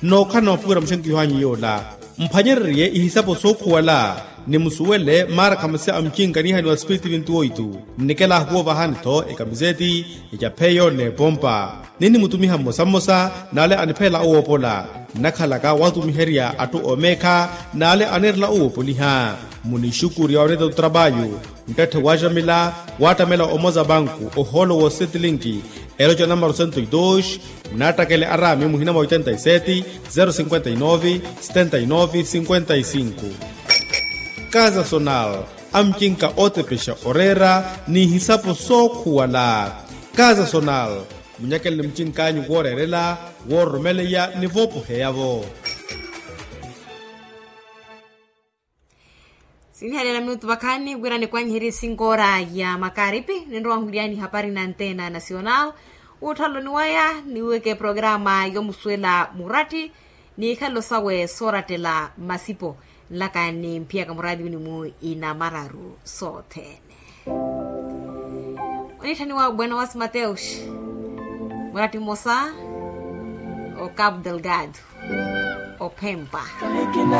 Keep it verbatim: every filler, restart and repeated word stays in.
Nnookhala na maphukira muxenkiho anyu yoola mphwanyererye ihisapo sookhuwala. Nimusuwele maara khamasi a mucinka niihaniwa spiritu vintu oitu. Nnikela ahuwoovahani-tho ekamiseti, ecapheyo n'epompa. Ninnimutumiha mmosa mmosa n'ale aniphelela owoopola. Nnakhalaka watumiherya atthu oomeekha n'ale anirela owoopoliha. Munixukurya oneeta otrapayu. Nttatthe waaxamila waattamela omoza banku ohoolo woosettilinki. Eloca namaro sento e dos. Nnaattakele araami muhina mwa oitenta e seti zero cinquenta e nove setenta e nove cinquenta e cinco. Kaza sonal, amucinka ootepexa oreera n'ihisapo sookhuwala. Kaza sonal, munyakeleni mucink'anyu wooreerela, woororomeleya ni voopoheya-vo. Sinihaliyana minutu vakhaani wira nikwanyiherye sinkoora ya makaripi ninrowa nhuliyaani hapari na antena nasional. Wuutthalloni waya niweke programa yomusuwela muratti n'ikhalelo sawe soorattela masipo nlaka ni mphiyaka muraatiwini-mu inamararu sothene. Oniitthaniwa buenowas mateus muratti mmosa o capu delgado ophempa.